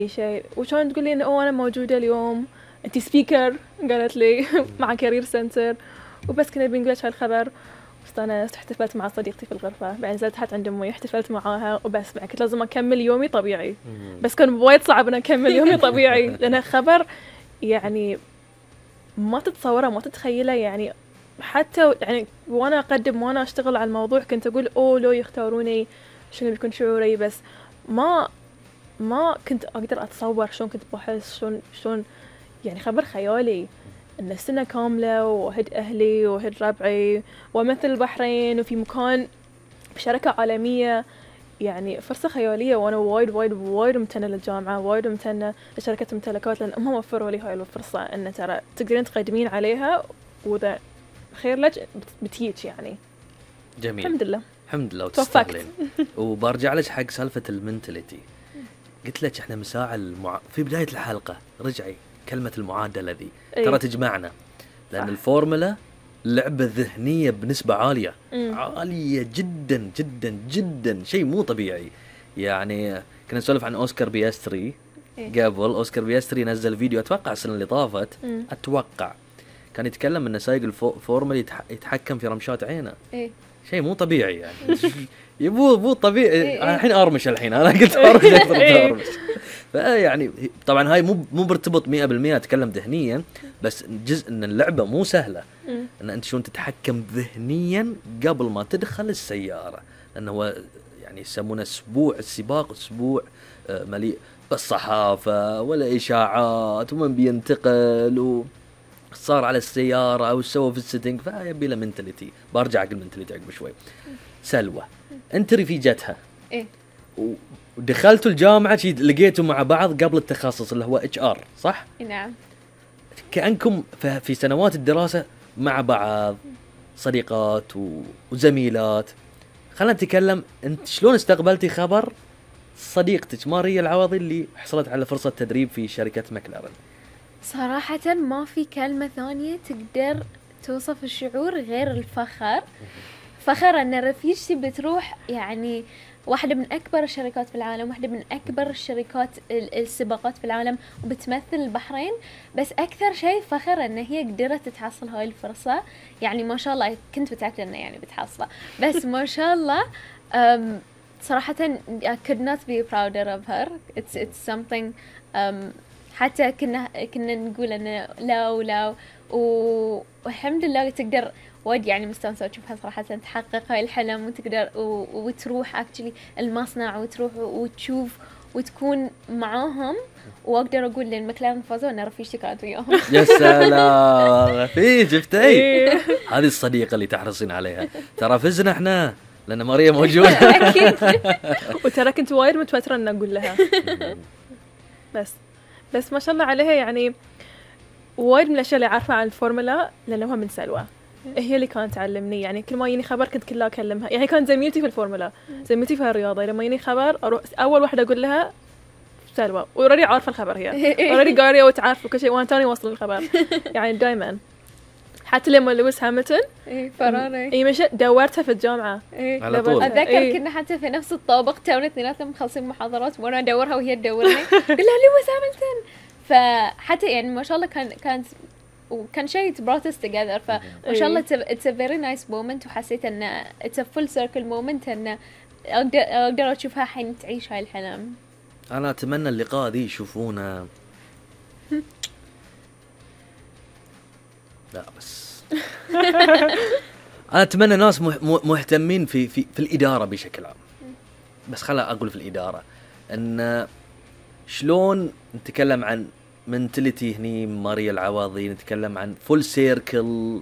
شيء وشون تقول لي إنه أنا موجودة اليوم أنتي سبيكر قالت لي مع كارير سنتر وبس كنا بنقول لك هالخبر. استانست احتفلت مع صديقتي في الغرفة بعدين نزلت تحت عند أمي احتفلت معاها وبس بعد كنت لازم أكمل يومي طبيعي بس كان وايد صعب أن أكمل يومي طبيعي لأن خبر يعني ما تتصوره ما تتخيله يعني حتى يعني وأنا أقدم وأنا أشتغل على الموضوع كنت أقول لو يختاروني شنو بيكون شعوري بس ما كنت أقدر أتصور شلون كنت بحس شلون يعني خبر خيالي إن سنة كاملة وهد أهلي وهد ربعي ومثل البحرين وفي مكان بشركة عالمية يعني فرصة خيالية وأنا وايد ممتنة للجامعة وايد ممتنة لشركة ممتلكات لأن هم وفروا لي هاي الفرصة إن ترى تقدرين تقدمين عليها وإذا خير لك بتيجي يعني. جميل الحمد لله وتستغلين. وبرجع لك حق سالفة المنتاليتي قلت لك احنا مساء في بداية الحلقة رجعي كلمة المعادلة ذي ترى تجمعنا لأن الفورمولا لعبة ذهنية بنسبة عالية عالية جدا جدا جدا شيء مو طبيعي. يعني كنا نسولف عن أوسكار بياستري قبل أوسكار بياستري نزل فيديو أتوقع السنة اللي طافت أتوقع كان يتكلم إن سايق الفورمولا يتحكم في رمشات عينه شيء مو طبيعي يعني يبو طبيعي الحين أرمش الحين أنا قلت أرمش يعني طبعا هاي مو مرتبط 100% أتكلم ذهنيا بس جزء إن اللعبة مو سهلة إن أنت شلون تتحكم ذهنيا قبل ما تدخل السيارة لأنه هو يعني يسمونه أسبوع السباق أسبوع مليء بالصحافة ولا إشاعات ومن بينتقل وصار على السيارة أو سوى في السيتنج فيبي له منتاليتي. برجع أقول منتاليتي عقب شوي. سلوى أنت رفيجتها ودخلتوا الجامعة لقيتوا مع بعض قبل التخصص اللي هو HR صح؟ نعم. كأنكم في سنوات الدراسة مع بعض صديقات وزميلات. خلنا نتكلم أنت شلون استقبلتي خبر صديقتك ماريا العوضي اللي حصلت على فرصة تدريب في شركة ماكلارن؟ صراحة ما في كلمة ثانية تقدر توصف الشعور غير الفخر. فخر أن رفيجتي بتروح يعني واحدة من أكبر الشركات في العالم واحدة من أكبر الشركات السباقات في العالم وبتمثل البحرين. بس أكثر شيء فخر أن هي قدرت تحصل هاي الفرصة يعني ما شاء الله كنت متأكدة أنه يعني بتحصلها بس ما شاء الله صراحة I could not be prouder of her. It's something حتى كنا نقول أنه لا والحمد لله تقدر وايد يعني مستانسة تشوفها صراحة تحقق هاي الحلم وتقدر وتروح actually المصنع وتروح وتشوف وتكون معاهم. واقدر اقول لان ماكلارن فازوا ان رفيجتي كانت وياهم. يا سلام رفيج شفتي هذه الصديقة اللي تحرصين عليها. ترى فزنا احنا لان ماريا موجودة. اكيد. وترى كنت وايد متوترة ان اقول لها بس ما شاء الله عليها يعني وايد من الاشياء اللي عارفة عن الفورمولا لانه هو من سلوى هي اللي كانت تعلمني. يعني كل ما يجيني خبر كنت كلها اكلمها يعني كانت زميلتي في الفورمولا زميلتي في الرياضه لما يجيني خبر اروح اول واحده اقول لها سلوى وراني عارفه الخبر هي وراني قاريه وتعرف كل شيء وانا تاني وصل الخبر يعني دائما. حتى لما لويس هامilton فراني مشت دورتها في الجامعه على طول. اتذكر كنا حتى في نفس الطابق تونا اثنيناتنا مخلصين محاضرات وانا ادورها وهي تدورني قلت لها لويس هامilton. فحتى يعني ما شاء الله كانت وكان شيء brought us together. فما شاء الله it's a very nice moment وحسيت ان it's a full circle moment ان اقدر اشوفها حين تعيش هاي الحلم. انا اتمنى اللقاء ذي يشوفونه لا بس انا اتمنى ناس مهتمين في الاداره بشكل عام. بس خلا اقول في الاداره ان شلون نتكلم عن منتاليتي هني ماريا العواضي نتكلم عن فول سيركل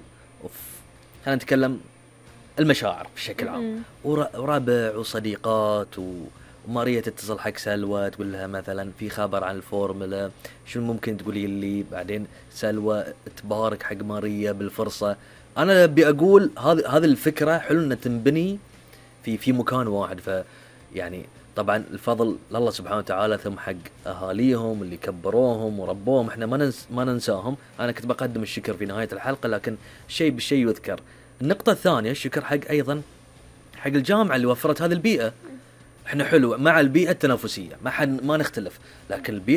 خلينا نتكلم المشاعر بشكل عام وربع وصديقات وماريا تتصل حق سلوى تقول لها مثلا في خبر عن الفورمولا شو ممكن تقولي لي بعدين سلوى تبارك حق ماريا بالفرصة. انا ابي اقول هذه الفكرة حلو انها تنبني في مكان واحد. ف يعني طبعا الفضل لله سبحانه وتعالى ثم حق أهاليهم اللي كبروهم وربوهم احنا ما ننساهم. أنا كنت بقدم الشكر في نهاية الحلقة لكن شيء بالشيء يذكر. النقطة الثانية الشكر حق أيضا حق الجامعة اللي وفرت هذه البيئة احنا حلو مع البيئه التنافسيه، ما نختلف، لكن البيئه